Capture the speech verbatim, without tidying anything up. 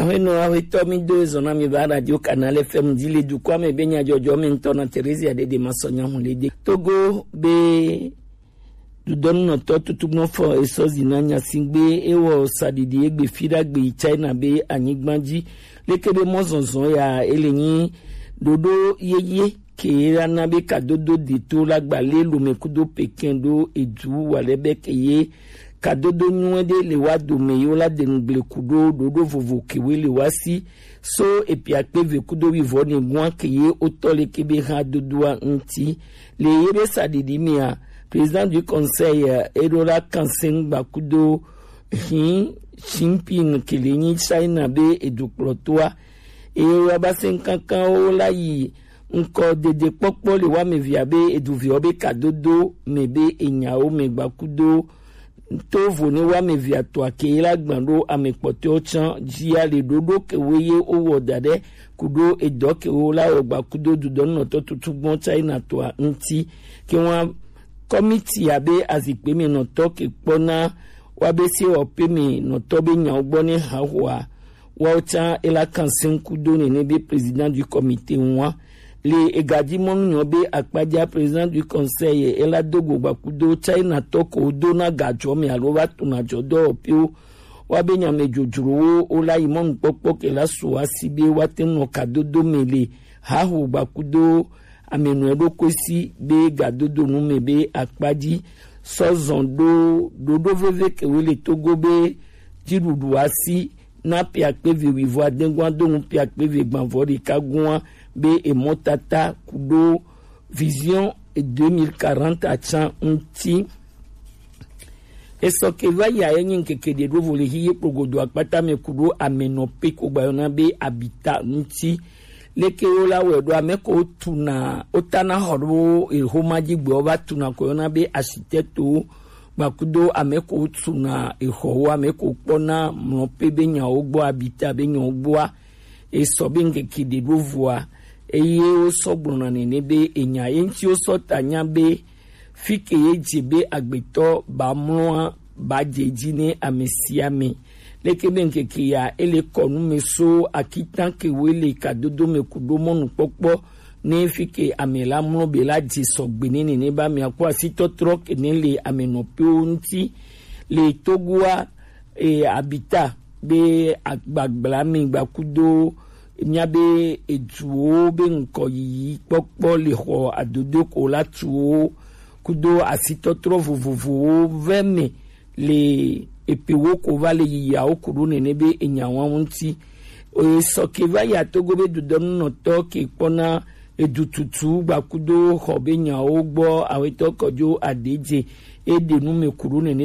Hwenu ahuetɔ mi do ezɔn na mi va Radio Canal F M ji le dukɔa me be nyajɔjɔ me ŋutɔ na Theresia Dede ma sɔ nya hu le de. Togo be dudɔnunɔtɔ tutugbɔn fɔ esɔ zi na nyasigbe ewɔ saɖiɖi egbe fi ɖagbe yi China be anyigba ji. Leke be mɔzɔzɔ ya ele nyi ɖoɖo yeye ke la na be kadodo de to la gba le lome kudo Pékin ɖo edu wa lɛ be ke ye kadodo nyuie ɖe le wa dome yo la de nugble kudo ɖoɖo vovo kewe le wa si so epiakpe ve kudo wi vɔ ne gua ke ye otɔ le ke be ha dodoa ŋuti. Le ye be saɖiɖi mea, président du conseil eɖo la kansen gba kudo Xi Jinping ke le nyi China be edukplɔtoa. Eye wa ba se kankanwo la yi ŋkɔ dede kpɔkpɔ le wa mevia be eduviawo be kadodo me be enyawo me gba kudo to vo ne wa mevia to ake la gban ɖo ame kpɔtɔewo tsan jia le ɖoɖo kewo ye wowɔ da ɖe kudo edɔ kewo la wɔ gba kudo dudɔnunɔtɔ tutugbɔn China toa ŋuti. Ke wa kɔmiti abe azikpe me nɔtɔ ke kpɔna wa be se wɔ pe me nɔtɔ be nyawo gbɔ ne ha hoa. Wawo tsã ela kansen kudo nene be président du comité ŋua. Le egaji mɔnu nyɔ be akpaja président du conseil ela do go gba kudo China tɔ ko do na gajɔ me alo va tuna jɔ dɔwɔpiwo. Wa be nyame dzodzrowo wo la yi mɔnukpɔkpɔ ke la so asi be wa te nɔ kadodo me le haho gba kudo amenɔ ɖokui si be gadodo nu me be akpaji sɔ zɔn ɖo ɖoɖo veve kewe le Togo be jiɖuɖu asi na piakpe ve wivɔ adengua do nu piakpe ve gbanvɔ ɖeka gua be emɔtata kudo vision deux mille quarante atsan ŋuti. Esɔ ke va ya ye nyi ŋkeke ɖe ɖo vo le hi ye kplogodo akpata me kudo amenɔ pe ko gba yɔna be abita ŋuti. Leke wo la wɛ ɖo ame ko tuna wo tana xɔ ɖo exoma ji gbe wo va tuna ko yɔna be architecte wo gbakudo ame ko tuna exɔ wo ame ko kpɔna mlɔ pe be nyawo gbɔ abita be nyawo gbɔa. Esɔ be ŋkeke ɖe ɖo voa eye wo sɔ gblɔna nene be enya ye ŋuti wo sɔ ta nya be fi ke ye dze be agbetɔ ba mlɔa ba dze dzi ne ame sia ame. Leke be ŋkeke ya ele kɔnu me so akitan ke wo le kadodo me kudo mɔnukpɔkpɔ ne fi ke ame la mlɔ be la dze sɔgbe ne nene ba mia kpɔ asitɔtrɔ ke ne le ame nɔpewo ŋuti le Togoa e, abita be agbagbla mi gbakudo mia be eduwo be ŋkɔ yiyi kpɔkpɔ le xɔ adodo ko la tuwo kudo asitɔtrɔ vovovowo vɛ me le epewo ko va le yiyawo kudo nene be enyawo ŋuti. Esɔ ke va ya Togo be dudɔnunɔtɔ ke kpɔna edututu gbakudo xɔ be nyawo gbɔ awetɔ kɔjo adedze eɖe nu me kudo nene